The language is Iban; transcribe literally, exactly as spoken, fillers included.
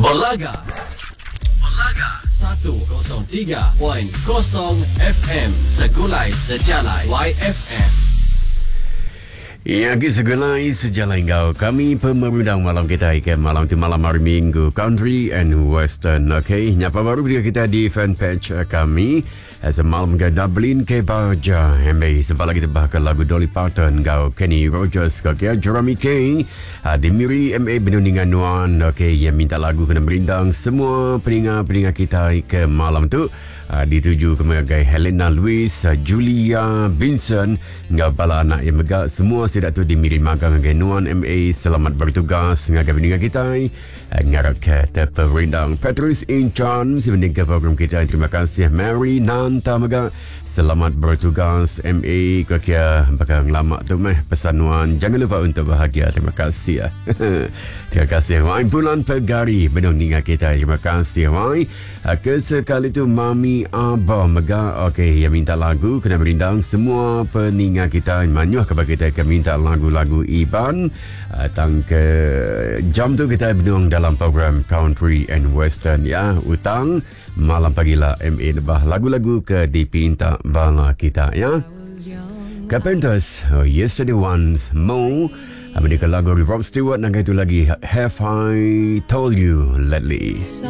Belaga. Belaga satu kosong tiga point kosong F M Segulai Sejalai Y F M. Ya, ke segulai sejalai kau. Kami pemerindang malam kita ke malam tu malam hari Minggu Country and Western. Okey, nyapa baru dia kita di fanpage kami. Semalam ke Dublin ke Baja M A sebab lagi tebah ke lagu Dolly Parton kau Kenny Rogers ke ke Jeremy King di Miri M A Benuningan Nuan. Okey, yang minta lagu kena merindang semua peninga-peninga kita ke malam tu. Uh, dituju ke mengagai Helena Louis, uh, Julia Vincent, ngau bala anak yang megak semua sidak tu di Miri Magang ngagai Nuan M A. Selamat bertugas ngagai peninga kita. Uh, ngarap ke terperindang Patrice Inchan sebenarnya ke program kita. Terima kasih Mary Nanta megak. Selamat bertugas M A. Kia bakal lama tu meh pesan Nuan. Jangan lupa untuk bahagia. Terima kasih. Terima kasih Wai Bulan Pegari benar ninga kita. Terima kasih Wai. Kesekali tu Mami Abah mega okey yang minta lagu kena merindang semua peninga kita manyuh kepada kita ke minta lagu-lagu Iban. Uh, tang ke jam tu kita berdung dalam program Country and Western ya. Utang malam pagilah M A lebah lagu-lagu ke dipinta bala kita ya. Carpenters, oh, Yesterday Once More. Mereka lagu Rob Stewart dan itu lagi Have I Told You Lately.